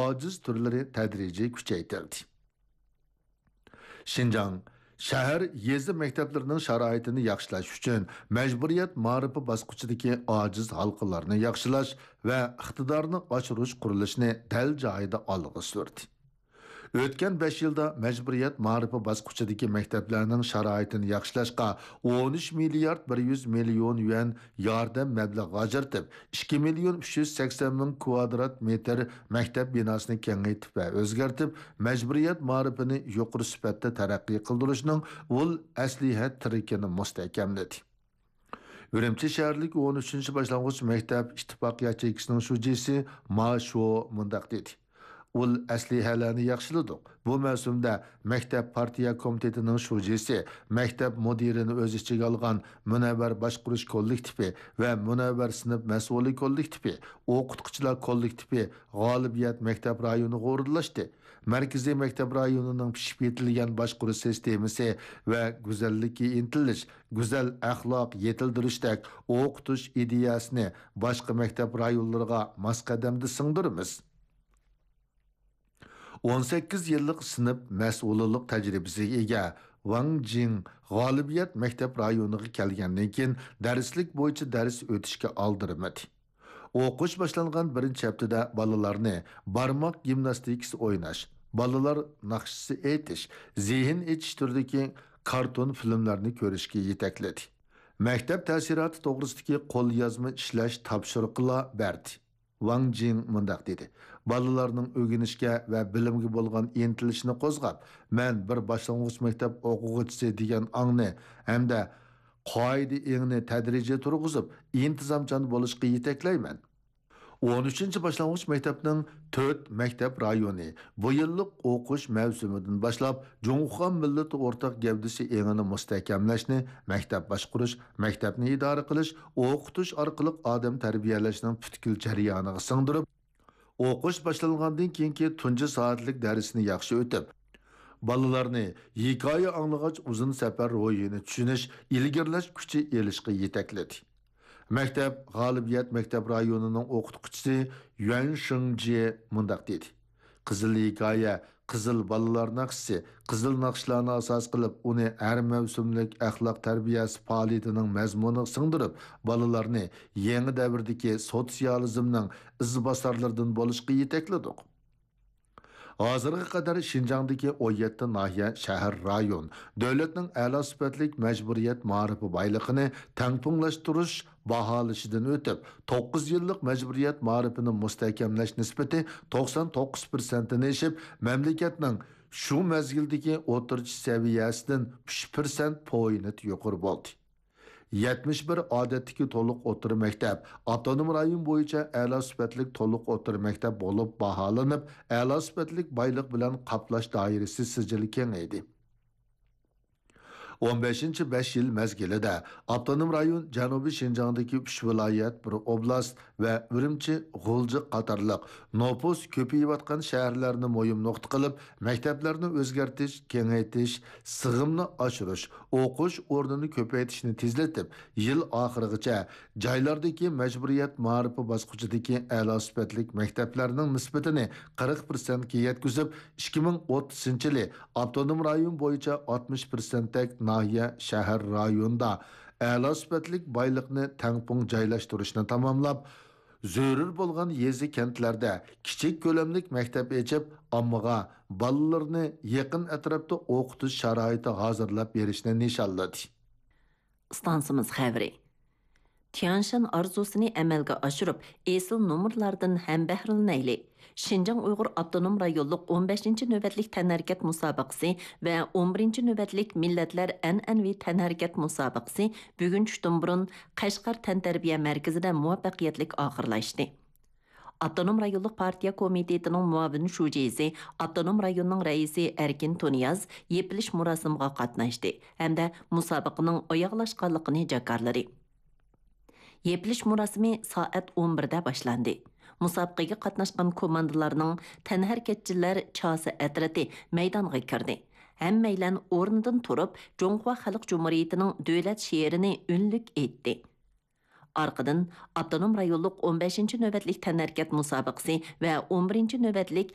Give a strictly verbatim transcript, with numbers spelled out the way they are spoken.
ئاجىز تۈرلىرى تەدرىجىي كۈچەيتىلدى. شىنجاڭ شەھەر، يېزا مەكتەپلىرىنىڭ شارائىتىنى ياخشىلاش ئۈچۈن مەجبۇرىيەت مائارىپى باسقۇچىدىكى ئاجىز ھالقىلارنى ياخشىلاش ۋە ئىقتىدارنى ئاشۇرۇش قۇرۇلۇشىنى دەل جايىدا ئالغا سۈردى. ئۆتكەن بەش يىلدا مەجبۇرىيەت مائارىپى باسقۇچىدىكى مەكتەپلەرنىڭ شارائىتىنى ياخشىلاشقا ئون ئۈچ مىليارد بىر يۈز مىليون يۈەن ياردەم مەبلىغى ئاجرىتىپ، ئىككى مىليون ئۈچ يۈز سەكسەن مىڭ كۋادرات مېتىر مەكتەپ بىناسىنى كېڭەيتىپ ۋە ئۆزگەرتىپ، مەجبۇرىيەت مائارىپىنى يۇقىرى سۈپەتتە تەرەققىي قىلدۇرۇشنىڭ ئۇل ئەسلىھە تىرىكىنى مۇستەھكەملىدى. ئۈرۈمچى شەھەرلىك ئون ئۈچىنچى باشلانغۇچ مەكتەپ ئىتتىپاق ياچېيكىسىنىڭ شۇجىسى ما شو مۇنداق دېدى: ئۇل ئەسلىھەلەرنى ياخشىلىدۇق. بۇ مەۋسۇمدە مەكتەپ پارتىيە كومىتېتىنىڭ شۇجىسى، مەكتەپ مۇدىرىنى ئۆز ئىچىگە ئالغان مۇنەۋۋەر باشقۇرۇش كوللېكتىپى ۋە مۇنەۋۋەر سىنىپ مەسئۇلى كوللېكتىپى، ئوقۇتقۇچىلار كوللېكتىپى، غالىبىيەت مەكتەپ رايونىغا ئورۇنلاشتى. مەركىزىي مەكتەپ رايونىنىڭ پىشىپ يېتىلگەن باشقۇرۇش سىستېمىسى ۋە گۈزەللىككە ئىنتىلىش، گۈزەل ئەخلاق يېتىلدۈرۈشتەك ئوقۇتۇش ئىدىيەسىنى باشقا مەكتەپ رايونلىرىغا ماس قەدەمدە سىڭدۈرىمىز. ئون سەككىز يىللىق سىنىپ مەسئۇلىلىق تەجرىبىسىگە ئىگە ۋاڭ جىڭ غالىبىيەت مەكتەپ رايونىغا كەلگەندىن كېيىن، دەرسلىك بويىچە دەرس ئۆتۈشكە ئالدىرىمىدى. ئوقۇش باشلانغان بىرىنچى ھەپتىدە بالىلارنى بارماق گىمناستىكىسى ئويناش، بالىلار ناخشىسى ئېيتىش، زېھىن ئېچىش تۈرىدىكى كارتون فىلىملارنى كۆرۈشكە يېتەكلىدى. مەكتەپ تەسىراتى توغرىسىدىكى قوليازما ئىشلەش تاپشۇرۇقىلا بەردى. ۋاڭ جىڭ مۇنداق دېدى: بالىلارنىڭ ئۆگىنىشكە ۋە بىلىمگە بولغان ئىنتىلىشىنى قوزغاپ، مەن بىر باشلانغۇچ مەكتەپ ئوقۇغۇچىسى دېگەن ئاڭنى ھەمدە قائىدە ئېڭىنى تەدرىجىي تۇرغۇزۇپ، ئىنتىزامچان بولۇشقا يېتەكلەيمەن. ئون ئۈچىنچى باشلانغۇچ مەكتەپنىڭ تۆت مەكتەپ رايونى بۇ يىللىق ئوقۇش مەۋسۇمىدىن باشلاپ جۇڭخۇا مىللىتى ئورتاق گەۋدىسى ئېڭىنى مۇستەھكەملەشنى، مەكتەپ باشقۇرۇش، مەكتەپنى ئىدارە قىلىش، ئوقۇتۇش ئارقىلىق ئادەم تەربىيەلەشنىڭ پۈتكۈل جەريانىغا سىڭدۈرۈپ، ئوقۇش باشلانغاندىن كېيىنكى تۇنجى سائەتلىك دەرسنى ياخشى ئۆتۈپ، بالىلارنى ھېكايە ئاڭلىغاچ ئۇزۇن سەپەر روھىنى چۈشىنىش، ئىلگىرىلەش كۈچى ئېلىشقا يېتەكلىدى. مەكتەپ غالىبىيەت مەكتەپ رايونىنىڭ ئوقۇتقۇچىسى يۈەن شېڭجيې مۇنداق دېدى: قىزىل ھېكايە، قىزىل بالىلار ناخشىسى، قىزىل ناخشىلارنى ئاساس قىلىپ، ئۇنى ھەر مەۋسۇملۇق ئەخلاق تەربىيەسى پائالىيىتىنىڭ مەزمۇنىغا سىڭدۈرۈپ، بالىلارنى يېڭى دەۋردىكى سوتسىيالىزمنىڭ ئىزباسارلىرىدىن بولۇشقا يېتەكلىدۇق. ھازىرغا قەدەر شىنجاڭدىكى ئون يەتتە ناھىيە، شەھەر، رايون دۆلەتنىڭ ئەلا سۈپەتلىك مەجبۇرىيەت مائارىپى بايلىقىنى تەڭپۇڭلاشتۇرۇش باھالىشىدىن ئۆتۈپ، توققۇز يىللىق مەجبۇرىيەت مائارىپىنى مۇستەھكەملەش نىسبىتى توقسان توققۇز پىرسەنتتىن ئېشىپ، مەملىكەتنىڭ شۇ مەزگىلدىكى ئوتتۇرىچە سەۋىيەسىدىن ئۈچ پىرسەنت پوينت يۇقىرى بولدى. يەتمىش بىر ئادەتتىكى تولۇق ئوتتۇرا مەكتەپ ئاپتونوم رايون بويىچە ئەلا سۈپەتلىك تولۇق ئوتتۇرا مەكتەپ بولۇپ باھالىنىپ، ئەلا سۈپەتلىك بايلىق بىلەن قاپلاش دائىرىسى سىجىلى كېڭەيدى. ئون بەشىنچى بەش يىل مەزگىلىدە ئاپتونوم رايون جەنۇبىي شىنجاڭدىكى ئۈچ ۋىلايەت، بىر ئوبلاست ۋە ئۈرۈمچى، غۇلجا قاتارلىق نوپۇس كۆپىيىۋاتقان شەھەرلەرنى مۇھىم نۇقتا قىلىپ، مەكتەپلەرنى ئۆزگەرتىش، كېڭەيتىش، سىغىمنى ئاشۇرۇش، ئوقۇش ئورنىنى كۆپەيتىشنى تېزلىتىپ، يىل ئاخىرىغىچە جايلاردىكى مەجبۇرىيەت مائارىپى باسقۇچىدىكى ئەلا سۈپەتلىك مەكتەپلەرنىڭ نىسبىتىنى قىرىق پىرسەنتكە يەتكۈزۈپ، ئىككى مىڭ ئوتتۇزىنچى يىلى ئاپتونوم رايون بويىچە ئاتمىش پىرسەنتتەك ناھىيە، شەھەر، رايوندا ئەلا سۈپەتلىك بايلىقنى تەڭپۇڭ جايلاشتۇرۇشنى تاماملاپ، زۆرۈر بولغان يېزا، كەنتلەردە كىچىك كۆلەملىك مەكتەپ ئېچىپ، ئاممىغا بالىلىرىنى يېقىن ئەتراپتا ئوقۇتۇش شارائىتى ھازىرلاپ بېرىشنى نىشانلىدى. ئىستانسىمىز خەۋىرى. تيەنشان ئارزۇسىنى ئەمەلگە ئاشۇرۇپ، ئېسىل نومۇرلاردىن ھەمبەھرىلىنەيلى! شىنجاڭ ئۇيغۇر ئاپتونوم رايونلۇق ئون بەشىنچى نۆۋەتلىك تەنھەرىكەت مۇسابىقىسى ۋە ئون بىرىنچى نۆۋەتلىك مىللەتلەر ئەنئەنىۋى تەنھەرىكەت مۇسابىقىسى بۈگۈن چۈشتىن بۇرۇن قەشقەر تەنتەربىيە مەركىزىدە مۇۋەپپەقىيەتلىك ئاخىرلاشتى. ئاپتونوم رايونلۇق پارتىيە كومىتېتىنىڭ مۇئاۋىن شۇجىسى، ئاپتونوم رايوننىڭ رەئىسى ئەركىن تۇنىياز يېپىلىش مۇراسىمىغا قاتناشتى ھەمدە مۇسابىقىنىڭ ئاياغلاشقانلىقىنى جاكارلىدى. يېپىلىش مۇراسىمى سائەت ئون بىردە باشلاندى. مۇسابىقىگە قاتناشقان كوماندىلارنىڭ تەنھەرىكەتچىلەر چاسا ئەترىتى مەيدانغا كىردى. ھەممەيلەن ئورنىدىن تۇرۇپ، جۇڭخۇا خەلق جۇمھۇرىيىتىنىڭ دۆلەت شېئىرىنى ئۈنلۈك ئېيتتى. ئارقىدىن ئاپتونوم رايونلۇق ئون بەشىنچى نۆۋەتلىك تەنھەرىكەت مۇسابىقىسى ۋە ئون بىرىنچى نۆۋەتلىك